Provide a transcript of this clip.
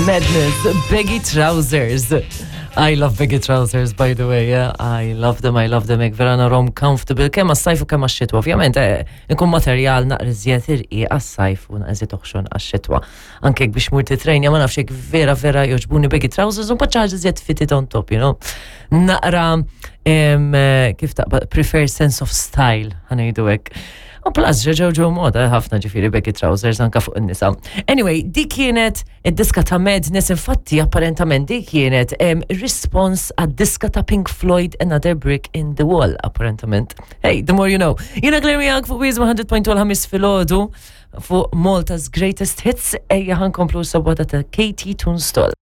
Madness, baggy trousers. I love baggy trousers, by the way. Yeah. I love them, I love them. Ek vera narom comfortable. Kemm għas-sajf u kemm għax-xitwa. Ovvjament, eh, ikun materjal naqra iżjed irqi għas-sajf u naqra iżjed oħxon għax-xitwa. Anke jekk biex mur titrejnja ma nafx jekk vera vera jogħġbuni baggy trousers u mbagħad xi ħaġa iżjed fitted on top, you know. Naqra eh, kif taqbad prefer sense of style, ħanejdu hekk. U plus ġew ġew moda ħafna ġifieri baggy trousers anka fuq in-nisa. Anyway, dik kienet id-diska ta' Madness, infatti apparentament dik kienet response għad-diska ta' Pink Floyd Another Brick in the Wall, apparentament. Hey, the more you know. Jiena Claire miegħek fuq Wiz 100.2 l-ħamis filgħodu fuq Malta's Greatest Hits, ejja ħankomplu sabwata ta' Katie Tunstall.